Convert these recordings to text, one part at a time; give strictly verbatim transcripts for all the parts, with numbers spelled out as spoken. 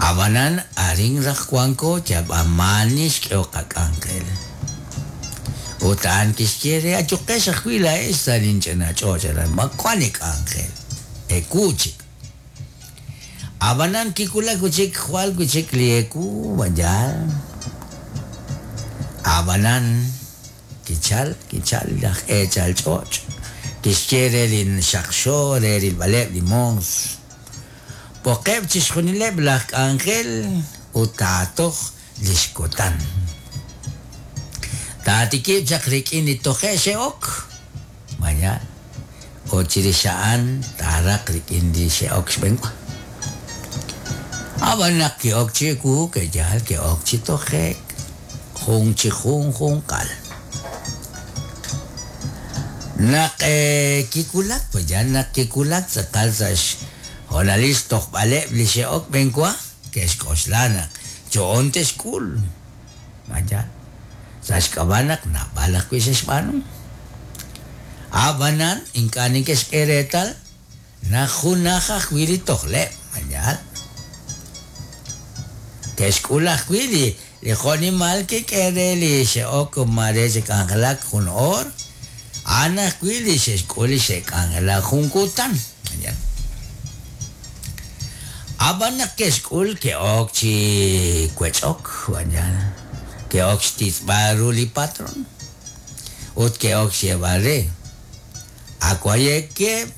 Ab'anan arin raj wanko yalb'a maani xk'ehok qak'anjel. Ut a'an kixye re ayuqex ajwi' laa'ex sa' linch'ina ch'och' aran ma wank li k'anjel ewu chik. Ab'anan kiwulak wi' chik jwal wi' chik li ewu yaal. Ab'anan kichal kichal laj eechal ch'och' kixye re li xaqxo re rilb'aleb' li moos. B'oqeb' chixjunileb' laj k'anjel ut taatoj li xkutan. Taatikib' chaq rik'in li toje' xe'ok. Mañana. Ut chirix a'an taaraq rik'in li xe'ok xb'enwa. Ab'an naq ki'ok chi ewu ke'yaal ke'ok chi toje'k jun chi junjunqal. Naq kiwulak yaal naq kiwulak tz'aqal sa' xhoonalil xtojb'aleb' li xe'ok b'enwa ke'xk'oxla naq yo'on te'xk'ul. Mañana. Sa' xk'ab'a' naq naab'al ajwi' xe'xb'aanu. Ab'anan ink'a' neke'xk'e reetal naq junaj ajwi' li tojleb'. Mañana. Ke'xk'ul ajwi' li li jo'nimal kik'e re li xe'ok mare xe'k'anjelak jun oor, a'an ajwi' li xe'xk'ul li xe'k'anjelak jun kutan. Mañana. Ab'an naq ke'xk'ul ke'ok chi wech'ok. Mañana. Ke'ok xtitz'b'al ru li patron. Ut ke'ok xyeeb'al re. Awayekeb'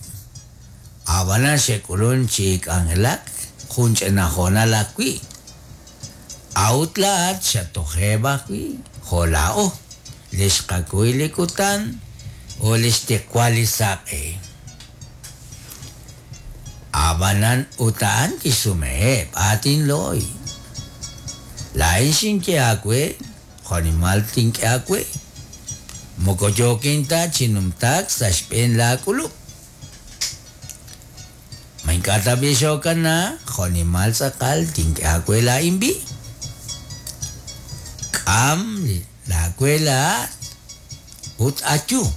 ab'anan xe'k'ulun chi k'anjelak jun ch'ina hoonal ajwi'. A'ut laa'at xatojeb' ajwi' jo' laa'o li xqakuy li kutan ut li xtiqwal li saq'e. Ab'anan ut a'an kixsumeheb' aatinlooy. Laa'in xinye aawe jo'nimal tink'e aawe. Moko yookin ta chi numtaak sa' xb'een laak'ulub'. Ma ink'a' tab'i' xokana jo'nimal tz'aqal tink'e aawe laa'in b'i. K'am laawe laa'at ut ayu.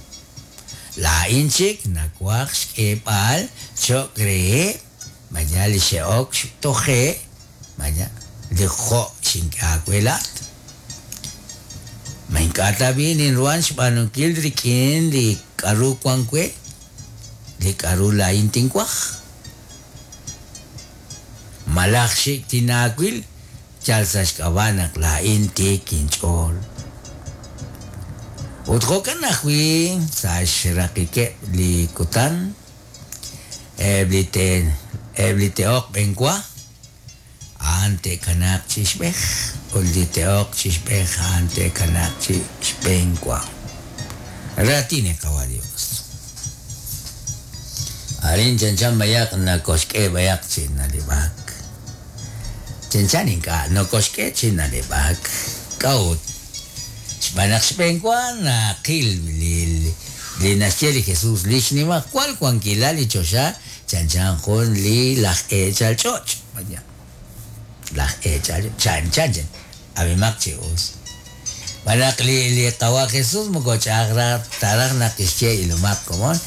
Laa'in chik nawaj xk'eeb'al cho'q reheb' mañana li xe'ok toje' mañana li jo' xink'e aawe laa'at. Ma ink'a' tab'i' ninruhan xb'aanunkil rik'in li k'aru wank we, li k'aru laa'in tinwaj. Malaj xik tinaawil yal sa' xk'ab'a' naq laa'in tiik inch'ool. Ut jo'kan ajwi' sa' xraqikeb' li kutan eb' li te eb' li te'ok b'enwa a'an te'kanaaq chi xb'ej ut li te'ok chi xb'ej a'an te'kanaaq chi xb'enwa. Raatin li Qawa' Dios. Arin chanchan bayaq nakoxk'e bayaq chi nalib'ak. Chanchan ink'a' nokoxk'e chi nalib'ak. K'a'ut. Xb'aan naq xb'enwa naqil li li naxye li Jesús li xnimajwal wankilal li choxa chanchan jun li laj eechal ch'och'. Laj eechal chanchan chan abimaq chi us. Xb'aan naq li li Qawa' Jesús moko ch'a'aj raj taraj naq kixye ilomaq komon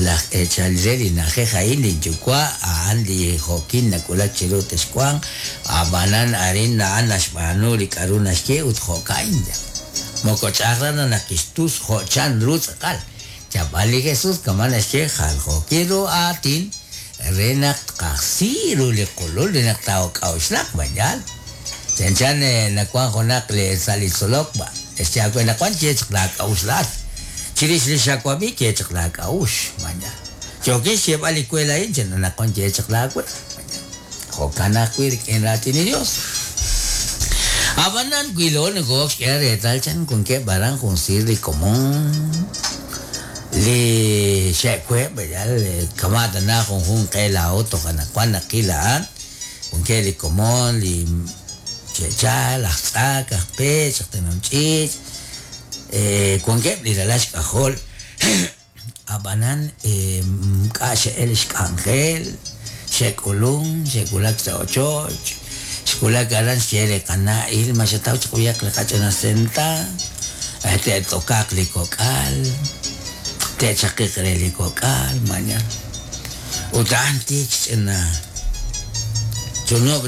laj eechal re li na'ajej a'in li yuwa' a'an li jo'kin nawulak chiru texwanq ab'anan arin a'an naxb'aanu li k'aru naxye ut jo'ka'in. Moko ch'a'aj raj naq kixtus jo' chan ru tz'aqal. Yab'al li Jesús kama' naxye jaljookil ru aatin re naq tqajsi ru li qulul re naq taak'a'uxlaq mañana. Chanchan nawank junaq li sa' li tzolok ba xye aawe naq wan ye chaq laak'a'uxlaat. Chirix li xawab'i ye chaq laak'a'ux mañana. Yookin xyeeb'al li we laa'in chan naq wan ye chaq laawe. Jo'kan ajwi' rik'in raatin li Dios. Ab'anan wilo nokoo'ok xk'e reetal chan wankeb' aran jun siir li komon li xe'web' yal kama' tana junjun qe laa'o toj anaqwan naqil a'an wankeb' li komon li xe'chal aj tz'ak aj peech aj tenom ch'iich' wankeb' li ralal xk'ajol ab'anan k'a' xe'el xk'anjel xe'k'ulun xe'wulak sa' ochoch xwulak aran xye li qana' il ma xataw chaq b'ayaq li qach'ina senta te't'okaq li kok'al te'chaqiq re li kok'al mañana. Ut a'an tiik xch'ina chunub'